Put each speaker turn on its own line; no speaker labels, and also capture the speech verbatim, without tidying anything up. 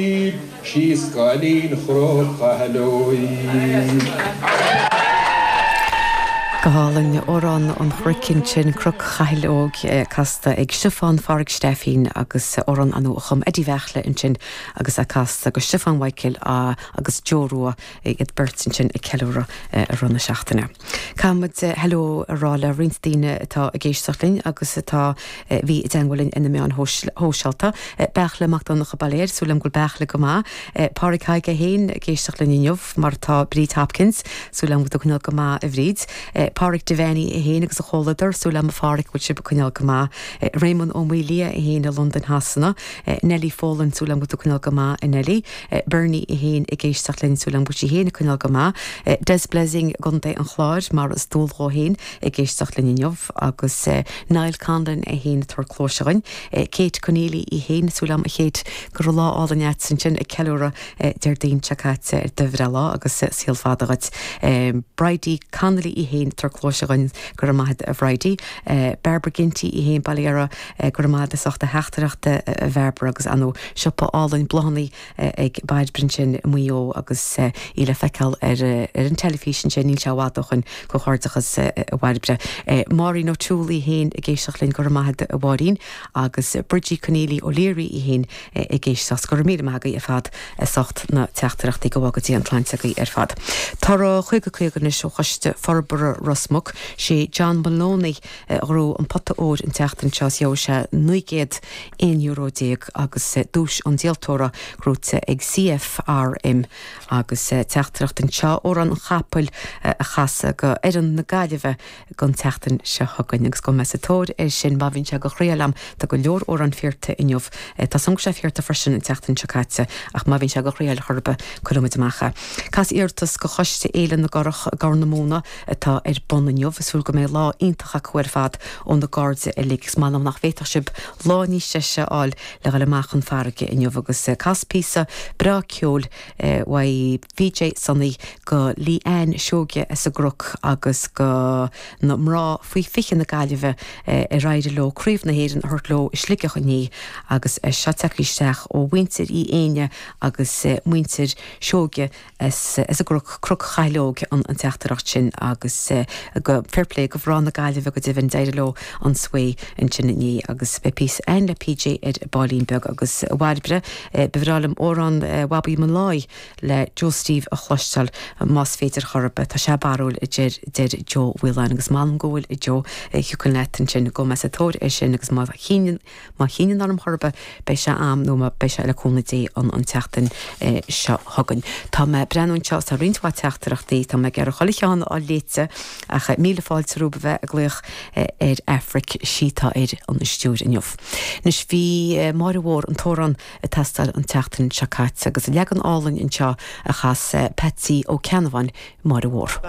Síos cailín Chnoc Chathail Óig.
Go hálainn amhrán an chnoic ansin Cnoc Chathail Óig casta ag Stiofán Phádraig Stephen agus amhrán a chum Eddie Bheachle ansin agus a casta go Stiofán Michael agus Joe Rua iad beirt ansin ag ceiliúradh i rith na seachtaine. Caithfimid hello a rá le roinnt daoine atá ag éisteacht linn agus atá bhí i dteagmháil linn ar na meáin shóisialta. Beairtle Mac Donncha Bailéir súil agam go bhfuil Beairtle go maith. Pádraig Haige féin ag éisteacht linn inniu mar tá Bríd Hopkins súil agam go bhfuil go maith a Bhríd. Pádraig Devaney é féin agus a chomhluadar súil agam a Phádraig bhfuil sibh ag coinneáil go maith. Raymond Ó Maolia é féin i Londain Shasana, Nelly Folan súil agam go bhfuil coinneáil go maith a Nelly, Bernie é féin ag éisteacht linn súil agam go bhfuil sí féin ag coinneáil go maith. Des Blessing i gContae an Chláir mar is dual dó féin ag éisteacht linn inniu agus Niall Conlon é féin tar clóise againn. Kate Conneely í féin súil agam a Kate go raibh lá álainn agat ansin ag ceiliúradh Déardaoin seo caite ar do bhreithlá agus saol fada duit. Bridie Connolly í féin tar clóise againn go raibh maith a Bhridie. Barbara Ginty í féin Baile Dheara go raibh maith as ucht a theachtaireachta a Bharbara agus an siopa álainn bláthanna ag Bairbre ansin i Maigh Eo agus í le feiceáil ar ar an teilifís ansin níl sé i bhfad ó shin comhghairdeachas a Bhairbre. Máirín O'Toole í féin ag éisteacht linn go raibh maith a Mháirín agus Bridgie Conneely O'Leary í féin ag éisteacht go raibh míle maith agaibh ar fad as ucht na teachtaireachtaí go go dtí an tsláinte agaibh ar fad. Tá chuige chuige anois ó Choiste Forbartha Ros Muc sé John Maloney a ghnóthaigh an pota óir an tseachtain seo gheobhaidh sé naoi gcéad aon euro déag agus duais an díoltóra gnóthaithe ag CFRM agus teachtaireacht anseo amhrán an chapaill a chasadh go fhoireann na Gaillimhe don tseachtain seo chugainn agus go mbeidh sa tóir air sin má bhíonn sé go chroí liom tá go leor amhrán fíorta inniu Tá san sé fíorta freisin an tseachtain seo caite ach má bhíonn sé go chroí churbe cuirfimid amach. Cas iarratas go choiste Fhéile na gCurach Gort na Móna atá ar bun inniu súil go mbeidh lá iontach acu ar fad ó na cairde uilig is maith nach bhféadfadh sibh lá níos deise a fháil le dhul amach chun farraige inniu agus cas píosa breá ceoil uaidh PJ Sonny go Lee Ann Seoige as an gCnoc agus go na mná faoi fiche na Gaillimhe ar éirigh leo Craobh na hÉireann a thabhairt leo i Sligeach inné agus seo tagtha isteach ó mhuintir Uí Éine agus muintir Seoige as as an gCnoc Cnoc Chathail Óig an an teachtaireacht sin agus go fair play go mná na Gaillimhe go deimhin d'éirigh leo an swae ansin inné agus beidh píosa againn le PJ ar baillín beag agus Bhairbre ba bhreá liom amhrán Bhabaí mo Láí le Joe Steve a chloisteáil más féidir chorba tá sé barúil a deir deir Joe Whelan agus m'anam go bhfuil Joe thiocfadh leat ansin go mbeidh sa tóir é sin agus má chinneann má chinneann orm chorba beidh sé am nó má beidh sé le cúnamh Dé an an tseachtain seo chugainn. Tá mé ag breathnú anseo tá roinnt mhaith teachtaireachtaí tá mé ag iarraidh chuile cheann á léite ach míle fáilte romhaibh a bheith ag glaoch ar Aifric sí tá ar an stiúir inniu. Anois bhí Máire Mhór an t-amhrán ag teastáil an tseachtain seo caite agus leagan álainn anseo a chas Patsy Ó Ceannabháin Máire Mhór.